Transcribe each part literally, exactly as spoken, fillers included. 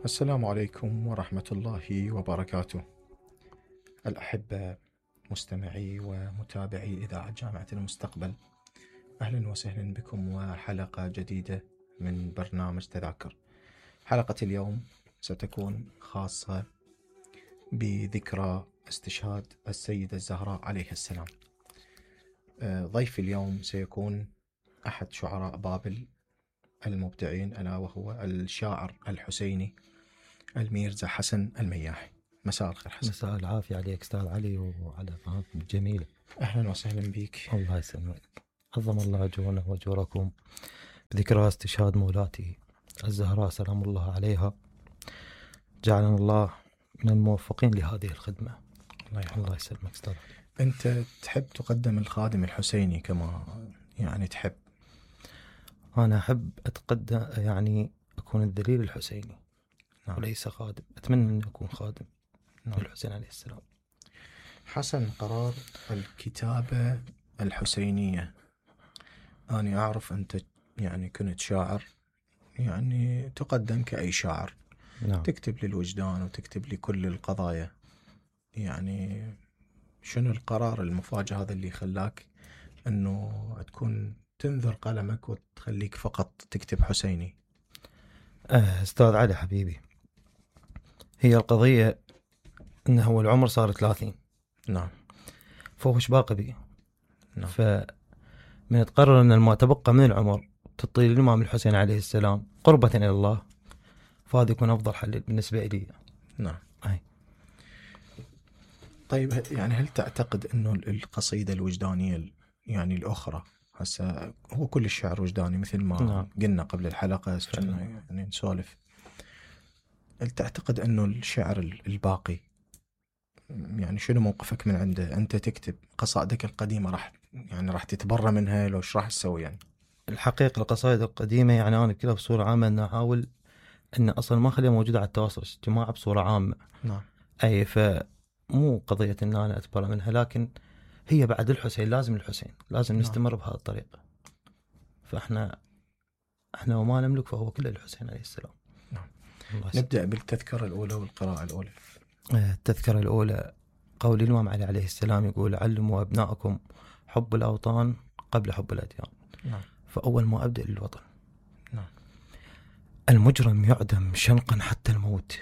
السلام عليكم ورحمة الله وبركاته. الأحبة مستمعي ومتابعي إذاعة جامعة المستقبل، أهلا وسهلا بكم وحلقة جديدة من برنامج تذاكر. حلقة اليوم ستكون خاصة بذكرى استشهاد السيدة الزهراء عليه السلام. ضيف اليوم سيكون أحد شعراء بابل المبدعين، ألا وهو الشاعر الحسيني الميرزا حسن المياحي. مساء الخير حسن. مساء العافية عليك أستاذ علي وعلى قناتكم الجميلة. أهلا وسهلا بك. الله يسلمك. عظم الله أجورنا وأجوركم بذكرى استشهاد مولاتي الزهراء سلام الله عليها. جعلنا الله من الموفقين لهذه الخدمة. الله يحفظك. الله يسلمك أستاذ. أنت تحب تقدم الخادم الحسيني كما يعني تحب؟ أنا أحب أتقدم، يعني أكون الدليل الحسيني. نعم. وليس خادم. أتمنى أن أكون خادم. نعم. الحسين عليه السلام. حسن، قرار الكتابة الحسينية، أنا أعرف أنت يعني كنت شاعر، يعني تقدم كأي شاعر. نعم. تكتب للوجدان وتكتب لكل القضايا. يعني شنو القرار المفاجئ هذا اللي خلاك أنه تكون تنذر قلمك وتخليك فقط تكتب حسيني؟ أه أستاذ علي حبيبي، هي القضية أنه هو العمر صار ثلاثين. نعم. فهو باقي بي. نعم. فمن تقرر أن ما تبقى من العمر تطيل الإمام الحسين عليه السلام قربة إلى الله، فهذا يكون أفضل حل بالنسبة لي. نعم. أي. طيب، يعني هل تعتقد أنه القصيدة الوجدانية يعني الأخرى، هسه هو كل الشعر وجداني مثل ما نعم. قلنا قبل الحلقة، يعني نسولف، هل تعتقد أنه الشعر الباقي يعني شنو موقفك من عنده؟ أنت تكتب قصائدك القديمة راح يعني راح تتبرى منها لو ايش راح تسوي؟ يعني الحقيقة القصائد القديمة يعني أنا كلها بصورة عامة أن أحاول أن أصلا ما أخليها موجودة على التواصل الاجتماعي بصورة عامة. نعم. أي، فمو قضية أن أنا أتبرى منها، لكن هي بعد الحسين لازم الحسين لازم نعم. نستمر بهذه الطريقة. فإحنا إحنا وما نملك فهو كله الحسين عليه السلام. نعم. نبدأ بالتذكرة الأولى والقراءة الأولى. التذكرة الأولى قول الإمام علي عليه السلام يقول: علموا أبنائكم حب الأوطان قبل حب الأديان. نعم. فأول ما أبدأ للوطن. نعم. المجرم يعدم شنقا حتى الموت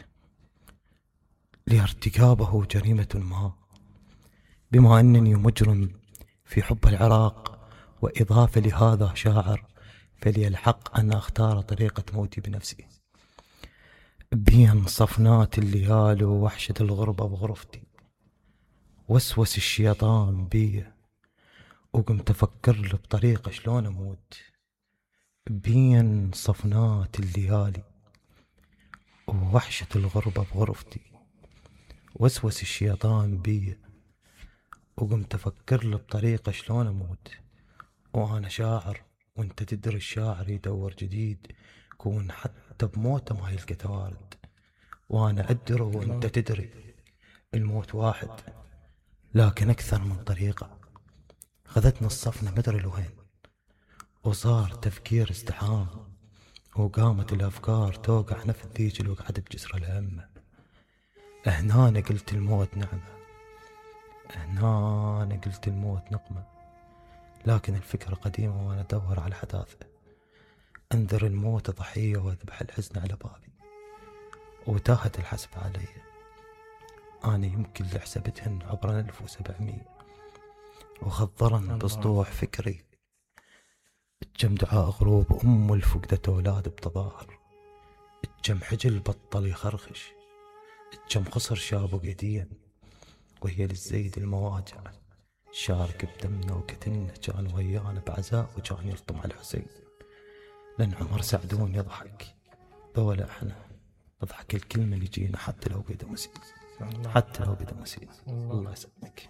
لارتكابه جريمة ما، بما أنني مجرم في حب العراق وإضافة لهذا شاعر، فلي الحق أن أختار طريقة موتي بنفسي. بين صفنات الليال ووحشة الغربة بغرفتي، وسوس الشيطان بي وقمت أفكر له بطريقة شلون أموت. بين صفنات الليالي ووحشة الغربة بغرفتي، وسوس الشيطان بي وقمت أفكر له بطريقة شلون أموت. وأنا شاعر وانت تدري الشاعر يدور جديد، كون حتى بموته ما يلقى توارد. وأنا أدري وانت تدري الموت واحد، لكن أكثر من طريقة. خذتنا الصفنة مدري لوين، وصار تفكير ازدحام، وقامت الأفكار توقع نفس ذيك الوقعة بجسر الهمة. هنا أنا قلت الموت نعمة، هنا أنا قلت الموت نقمة، لكن الفكرة قديمة وأنا أدور على حداثة. أنذر الموت ضحية وأذبح الحزن على بابي، وتاهت الحسب علي. أنا يمكن اللي حسبتهن عبر ألف وسبعمية، وخضرن بسطوح فكري الجم دعاء غروب أم الفقدة أولاد بتظاهر. الجم حجل بطل يخرخش، الجم خسر شابه قديا، وهي للزيد المواجع شارك بدمنا وكتلنا. كان ويانا بعزاء وكان يلطم على الحسين، لأن عمر سعدون يضحك ذولا احنا نضحك الكلمة اللي جينا حتى لو بدا مسيس، حتى لو بدا مسيس. الله يسلمك.